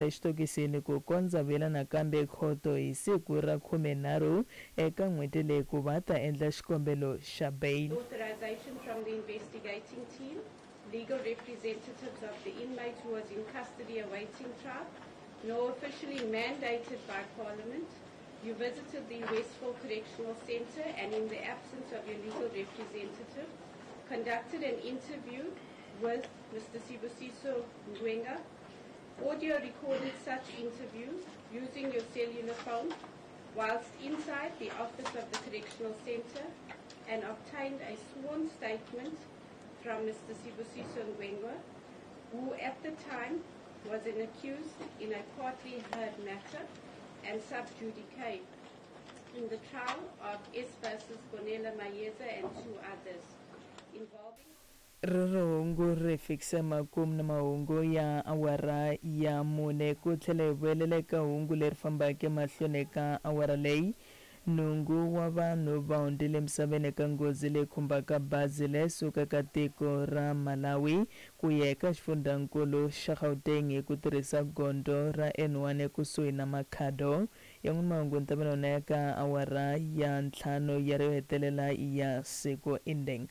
Exitokisini ku kondza vuyela nakambe ekhoto hi siku ra 13 eka n'hweti leyi ku va ta endla xikombelo xa bail. Authorization from the investigating team, legal representatives of the inmate who was in custody awaiting trial, nor officially mandated by Parliament, you visited the Westville Correctional Centre and in the absence of your legal representative, conducted an interview with Mr. Sibusiso Ngwenga, audio recorded such interview using your cellular phone whilst inside the office of the Correctional Centre and obtained a sworn statement from Mr. Sibusiso Ngwengwa, who at the time was an accused in a partly heard matter and sub judice in the trial of S versus Gonela Mayeza and two others involving Rero hungu ri fikisa makumu na mahungu ya awara ya mune ku tlhela hi vuyelela eka hungu leri fambaka emahlweni eka awara leyi. Nhungu wa vanhu va hundzile emisaveni eka nghozi leyi khumbaka bazi leyi sukaka tiko ra Malawi ku ya eka xifundzankulu xa Gauteng hi ku tirhisa gondzo ra N1 ekusuhi na Makhado. Yan'wana mahungu ni ta va na wona ya ka awara ya ntlhanu ya ro hetelela ya siku Indeng.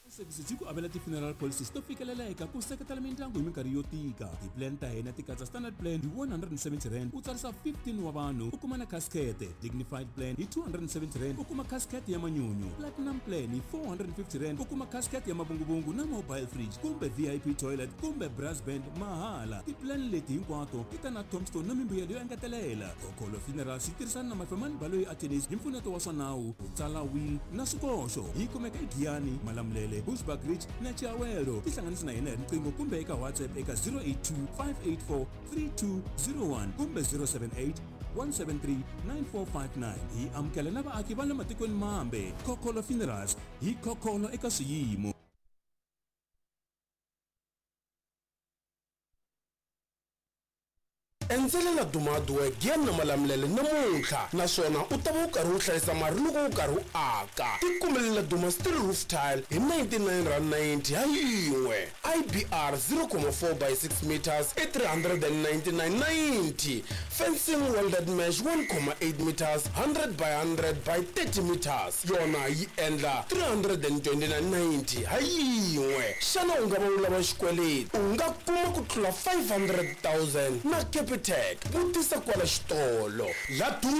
Services yi ku avela ti-funeral policies to fikeleleka ku seketela mindyangu hi minkarhi yo tika. Ti-plan ta hina ti katsa standard plan hi R170 u tsarisa 15 wa vanhu u kuma na casket, dignified plan hi R270 u kuma casket ya manyunyu, platinum plan hi R450 u kuma casket ya mavunguvungu na mobile fridge kumbe VIP toilet kumbe brass band mahala. Ti-plan leti hinkwato ti ta na tombstone na mimbuyelo yo engetelela. Khokholo Funerals yi tirhisana na Mafemani Baloyi Attorneys hi mpfuneto wa swa nawu, ku tsala will na swikoxo. Yi kumeka eGiyani, Malamulele, Bushbuckridge na Chiawelo. Tihlanganisi na hina hi riqingho kumbe eka WhatsApp eka 082 584 3201 kumbe 078 173 9459. Hi amukela na vaaki va le matikweni mambe. Khokholo Funerals, hi khokholo eka swiyimo. Endzelela Duma Hardware Giyani na Malamulele namuntlha naswona u ta va u karhi u hlayisa mari loko u karhi u aka. Tikumelela Duma Steel Roof Tile hi R99.90 ha yin'we, IBR 0,4 by 6 metres i R399.90, Fencing Welded Mesh 1,8 metres 100 by 100 by 30 metres yona yi endla R329.90 ha yin'we. Xana u nga va u lava xikweleti? U nga kuma ku tlula 500,000 na Capitec. Vutisa kwala xitolo. Laduma,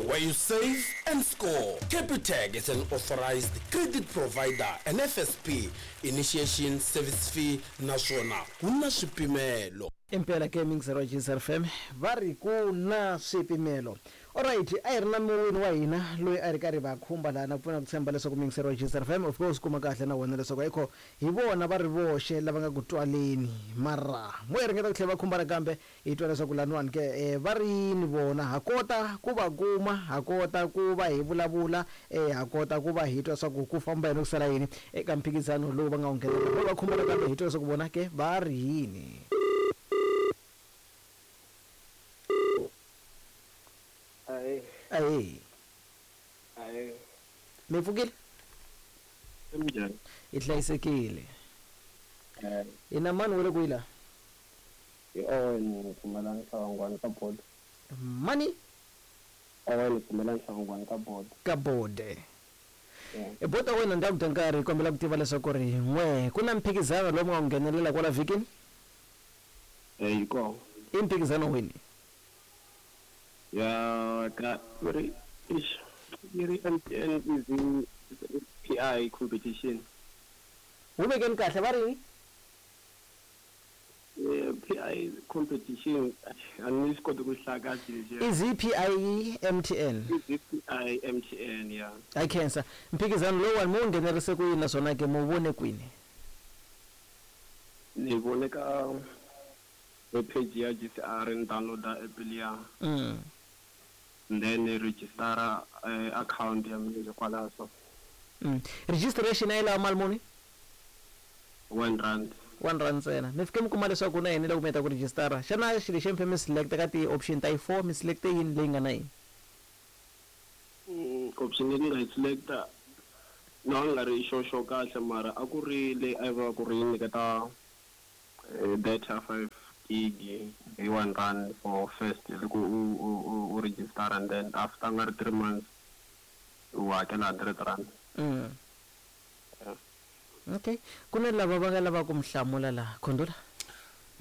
where you save and score. Capitec is an authorized credit provider and FSP initiation service fee naswona ku na swipimelo. Impela ke mingizero wa Jesus FM va ri ku na swipimelo. Alright, a hi ri na muwini wa hina loyi a ri karhi va khumba laha na ku pfuna ku tshemba leswaku muyingiseri wa Jesus FM of course kuma kahle na wena leswaku ayikho hi vona va ri voxe lava nga ku twaleni mara mo hi ringeta ku tlhela va khumba nakambe hi twa leswaku laniwani ke eh, va ri yini vona ha kota ku va kuma ha kota ku va hi vulavula eh, ha kota ku va hi twa swa ku ku famba yini ku sala yini eka mphikizano lowu va nga wu nghenelela mo va khumba nakambe hi twa leswaku vona ke va ri yini. Ahee. Ahee. Ahee. Mi pfukile? Minjhani? Hi hlayisekile. Eh. Hi na mani wa le kwihi la? Hi Owen Pfumelani Hlawangwani ka Bode. Mani? Owen Pfumelani Hlawangwani ka Bode. Ka Bode. Yeah. E bota wena ndzi ku dya nkarhi kombela ku tiva leswaku ri n'we ku na mphikizano lowu mi nga wu nghenelela kwala vhikini? Eh, yi kona. I mphikizano wini? Ya ka ri ish yi ri MTN Easy PI competition. Wu vekeni kahle va ri yini? Eh, PI competition a ni swi koti ku hlaya kahle lexiya. Easy PI MTN. Easy PI MTN ya. I khensa. Mphikizano lowuwani mi wu nghenerise ku yini naswona ke mi wu vone kwini? Ni vone ka webpage ya GCR ni download-a app liya. And then ni register account ya mina kwalaho so. Registration a yi lava mali muni? R1. R1 ntsena. Mi fike mi kuma leswaku ku na yini loko mi heta ku register-a? Xana xilo lexi mi fanele mi select ka ti-option ta yi four mi select-e yini leyi nga na yini? Option leyi ni nga yi select-a no a ni nga ri sure sure kahle mara a ku ri leyi a yi vula ku ri yi nyiketa Data 5 gig hi 1 rand for first loko u register, and then after nga ri 3 months u hakela 100 rand. Yeah. Okay, ku na lava va nga lavaka ku mi hlamula laha, Khondula.